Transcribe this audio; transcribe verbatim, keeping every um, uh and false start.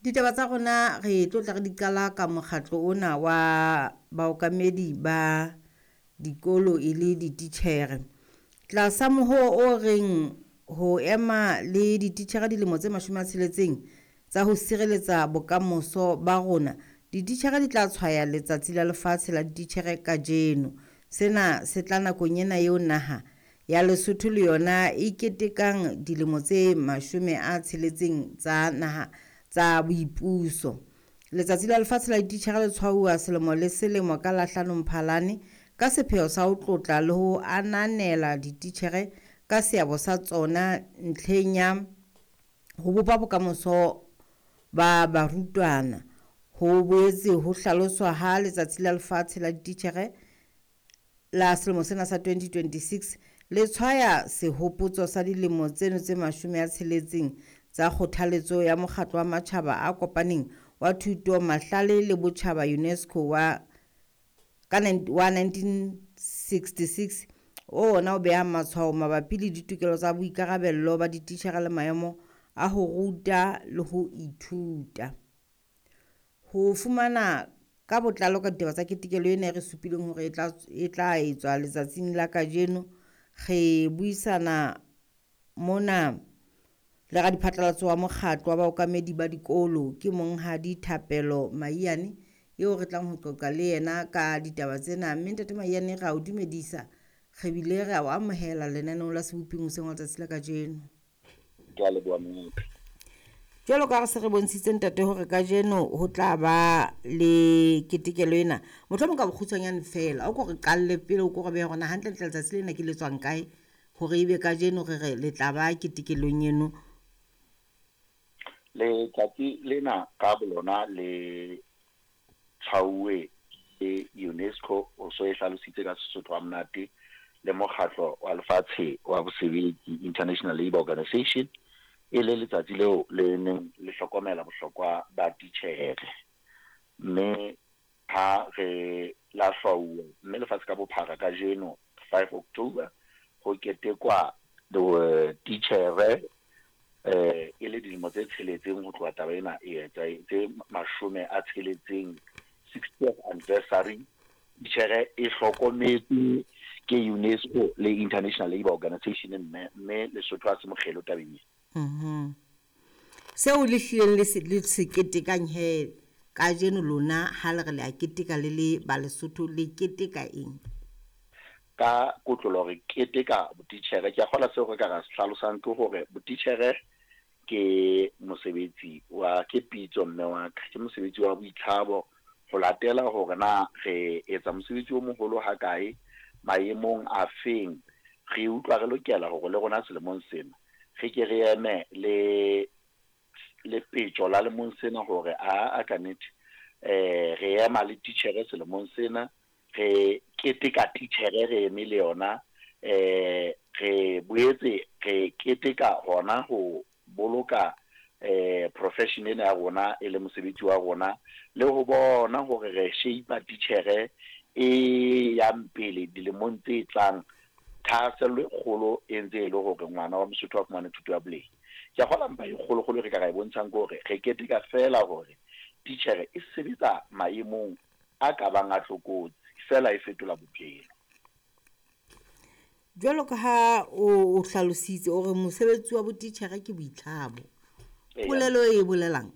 Ditaba tsa rona re tlo tla re di qala ka mokgatlo ona wa baokamedi ba dikolo e le dititjhere. Tlasa mohoo o reng ho ema le dititjhere dilemo tse mashome a tsheletseng tsa ho sireletsa bokamoso ba rona, dititjhere di tla tshwaya Letsatsi la Lefatshe la Dititjhere kajeno. Sena se tla nakong ena eo naha ya Lesotho le yona e ketekang dilemo tse mashome a tsheletseng tsa naha tsa boipuso. Letsatsi la Lefatshe la Dititjhere le tshwauwa selemo le selemo ka la hlano Mphalane ka sepheo sa ho tlotla le ho ananela dititjhere ka seabo sa tsona ntlheng ya ho bopa bokamoso ba barutwana. Ho boetse ho hlaloswa ha Letsatsi la Lefatshe la Dititjhere la selemo sena sa twenty twenty-six le tshwaya sehopotso sa dilemo tseno tse mashome a tsheletseng tsa kgothaletso ya Mokgatlo wa Matjhaba a Kopaneng wa Thuto, Mahlale le Botjhaba UNESCO wa ka wa nineteen sixty-six o ona o behang matshwao mabapi le ditokelo tsa boikarabello ba dititjhere le maemo a ho ruta le ho ithuta. Ho fumana ka botlalo ka ditaba tsa ketekelo ena e re supileng hore e tla, e tla etswa letsatsing la kajeno, re buisana mona le radiphatlalatso wa mokgatlo wa baokamedi ba dikolo ke Monghadi Thapelo Maiyane eo re tlang ho qoqa le yena ka ditaba tsena. Mme Ntate Maiyane, re a o dumedisa, re bile re a o amohela lenaneong la Seboping hoseng wa letsatsi la kajeno. Ke a leboha monghadi. Jwalo ka re se re bontshitse ntate hore kajeno ho tla ba le ketekelo ena, mohlomong ka bokgutshwanyane feela o ko re qalle pele, o ko re behe hore na hantlentle letsatsi lena ke le tswang kae hore ebe kajeno re re le tla ba ketekelong eno. Letsatsi lena ka bolona le tshwauwe ke UNESCO, o so e hlalositse ka Sesotho ha monate, le mokgatlo wa lefatshe wa bosebetsi International Labour Organization, e le letsatsi leo le neng le hlokomela bohlokwa ba titjhere. Mme ha re la hlwauwa mme lefatshe ka bophara kajeno five October ho ketekwa titjhere eh e le dilemo tse tsheletseng ho tloha taba ena e etsa tse mashome a tsheletseng, sixtieth anniversary. Titjhere e hlokometse ke UNESCO le International Labour Organization, mme mme Lesotho ha se mokgelo tabeng ena. Mhm. Seo le hlileng le se le se ketekang he kajeno lona ha le re le a keteka le le ba Lesotho, le keteka eng? Ka kotlolo re keteka botitjhere. Ke a kgolwa seo re ka ra se hlalosang ke hore botitjhere ke mosebetsi wa, ke pitso mme wa ka, ke mosebetsi wa boitlhabo ho latela hore na re etsa mosebetsi o moholo ha kae, maemong a feng. Re utlwa re lokela hore le rona selemong sena re ke re eme le le petjo la lemong sena hore a, a ka nnete eh re ema le titjhere selemong sena, re keteka titjhere re eme le yona, eh re boetse re keteka hona ho boloka eh profession ena ya rona e le mosebetsi wa rona, le ho bona hore re shape titjhere e yang pele dilemong tse tlang. Thahasello e kgolo e ntse e le hore ngwana wa Mosotho a fumane thuto ya boleng. Ke a kgolwa mpa e kgolokgolo re ka ra e bontshang ke hore re keteka feela hore titjhere e sebetsa maemong a ka bang a tlokotsi, feela e fetola bophelo. Jwalo ka ha o, o hlalositse o re mosebetsi wa botitjhere ke boitlamo. Eya. Polelo e bolelang?